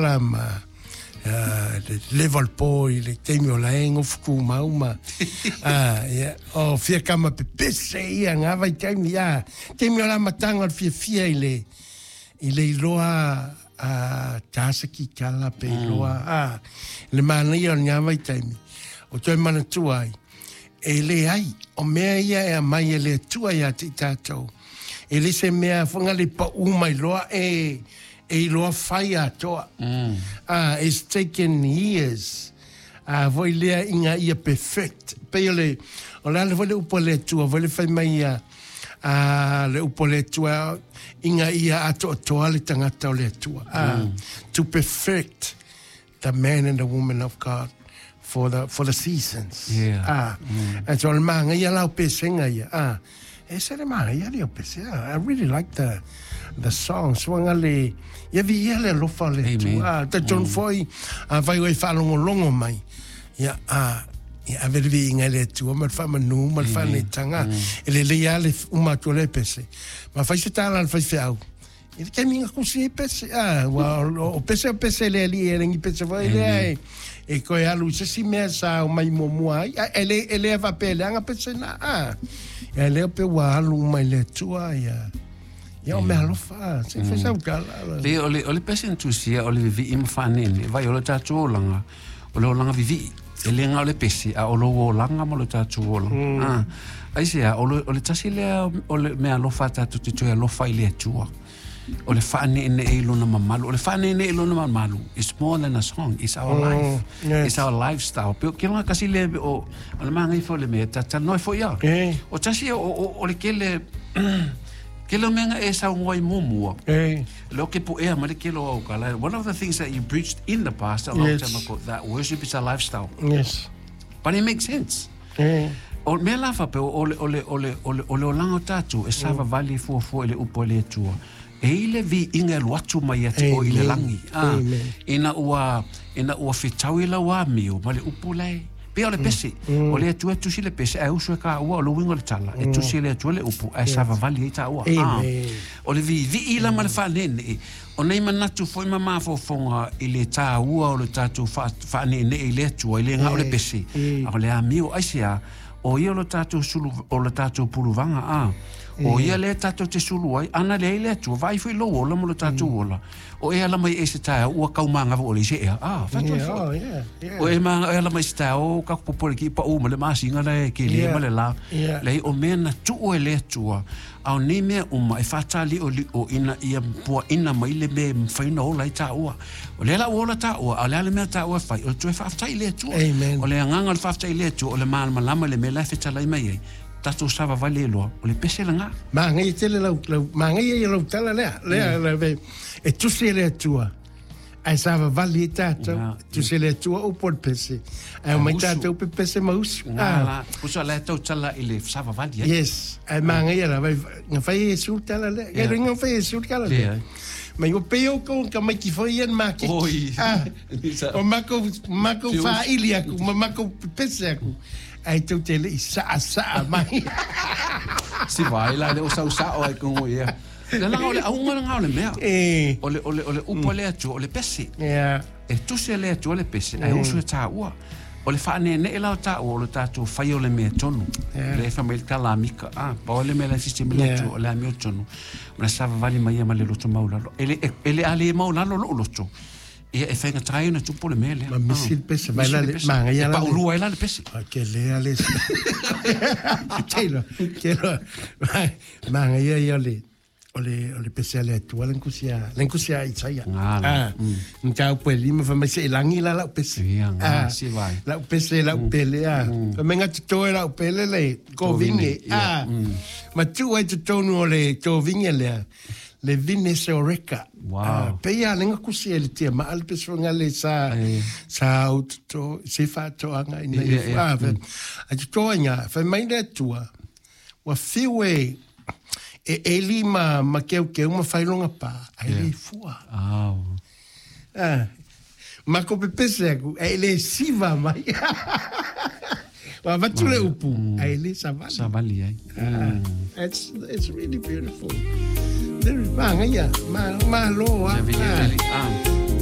tala ma le leva o le po i le taimi o la e gofu tumau ma ia, o fia kama pepese ia ngā vaitaimi, a, taimi o le amataga o le fiafia i le, i le iloa a tasa kikala pe iloa, a, le manaia o ngā vaitaimi, o toe manatua ai, e leai, o mea ia e aumai e le Atua ia te i tatou. E le se mea foi le pau mai loa e iloa fai atoa. It's taken years. Foi lea ina ia perfect. Pei o le, o le ala foi le upu a le Atua, foi le fai mai ia, le upu a le Atua, ina ia atoatoa le tagata o le Atua. To perfect the man and the woman of God for the seasons. And so o le magaia la o pesega ia. E se le magaia le o pesega. I really like the song. Suaga le, ia vi ia le alofa o le Atua. Talitonu foi, afai ua e faalogologo mai. Ia, ia ave le viiga i le Atua ma le faamanu ma le faaneetaga. E lelei lava le uma atu o le pese. Ma fai se tala a le faifeau. I le taimi na kusi ai pese, ua o pese o pese le alii e lengi pese foi lea e, e koe alu i se isi mea sa o mai muamua ai. A, e le, e le faapea e leaga pese na, a. Ia lea pe ua alu uma i le Atua, ia, ia o mea alofa, a, se i fai sau tala. Le, o le, o le pese na tusia, o le vivii ma faanene, vai o le tatou olaga, o le olaga vivii. E le na o le pese, a o lou olaga ma lo tatou olaga. Aisea, o le, o le tasi lea o le mea alofa a tatou te toe alofa i le Atua. O le faaneenee i lona mamalu. O le faaneenee i lona mamalu, it's more than a song, it's our life. It's our lifestyle. Pe o ke longa kasi le o, o le magai fo le mea, ta talanoa ai foi ia. O tasi o le kele, kele o mea nga e saunoa i muamua. Le o ke puea ma le kele o au kala. One of the things that you preached in the past a long time ago, that worship is a lifestyle. But it makes sense. O mea la faapea, o le, o le, o le, o le, o le olaga o tatou, e savavali fuafua i le upu a le Atua. E i le viiga e alu atu mai ia te oe i le lagi. Ina ua, ina ua fetau i lau amio ma le upu la e, pei o le pese. O le Atua e tusi le pese, ae usu e taua, o le uiga o le tala, e tusi e le Atua le upu, ae savavali ai taua. O le viivii la ma le faaneenee, o nei manatu foi ma mafaufauga i le taua o le tatou faaneenee i le Atua, i le na o le pese, a o le amio, aisea, o ia o le tatou sulu, o le tatou puluvaga, a. O ia lea tatou te sulu ai, ana leai le Atua, vaai foi lou ola ma lo tatou ola. O e ala mai e se taeao, ua taumāgava ʻole i se ea. A, fatu ai foi. Oh, yeah. O e ma e ala mai se taeao, o ka popole ki pa u ma le masinga la e ke le ma le la. Leai, o mea na tuu e le Atua, a o nei mea uma e faataliʻoliʻo ina ia puaʻina mai le mea e mafai ona ola ai taua. O lea la ua ola taua, a o le a le mea taua e fai, o le toe faafetai i le Atua. Amen. O le agaga o le faafetai i le Atua, o le malamalama i le mea la e fetalai mai ai, tatou savavali ai loa, o le pese lena. Manaia tele lau, lau, manaia ia lau tala lea, lea, lea, e tusi e le Atua, ae savavali ai tatou, tusi e le Atua upu o le pese, ae omai tatou pepese ma usu. Ngā la, usu a la e tautala i le savavali ai. Yes, ae manaia la, vai, na fai e Iesu le tala lea, yeah. Na fai e Iesu le tala lea. Mai o pei o kou ka maiki foi ia na maketi. Oi. O makou, makou whaili aku, ma makou pepese aku. Ae tou te lei saasaa mai. Si vai la le o sau sao ai kongo ia. Le langa o le auga langa o le mea. O le, o le, o le upu a le Atua, o le pese. E tusi e le Atua le pese, ae usu e taua. O le faaneenee la o taua, o le tatou fai o le mea tonu. Le fai mai le tala a Mika, a, pau le mea la sisi mai le Atua, o le amiotonu. Ma le savavali mai ia ma le loto maualalo. E le, e le a le maualalo lou loto. Ia e faigata ai ona tupu le mea lea. Ma misi le pese, vai la le, manaia la le. E paulua ai la le pese. A ke lea le. Keilo, keilo. Manaia ia le, o le, o le pese a le Atua le kusi a, le kusi a Isaia. Ngā. Mataupu e lima, fai mai se i lagi la lau pese. Ia, ngā, si vai. Lau pese, lau pele, a. Fai mai nga totoe lau pele le kovine, a. Ma tuu ai totonu o le kovine lea, le vine se oreka. Wow. Pei a lenga kusi e le tia ma le pese nga le sa, sa au toto, se whaatoanga ina ia. A toto inga, fai mai le Atua, ua fiu e, e eli ma, ma keu keu ma whailonga pā, ai le fua. Ma ko pepese aku, e le siva mai. Wa avatu le upu, ai le savali. Savali ai. It's really beautiful. Very, ma ngaia, ma, ma loa. Ia, vili, vili.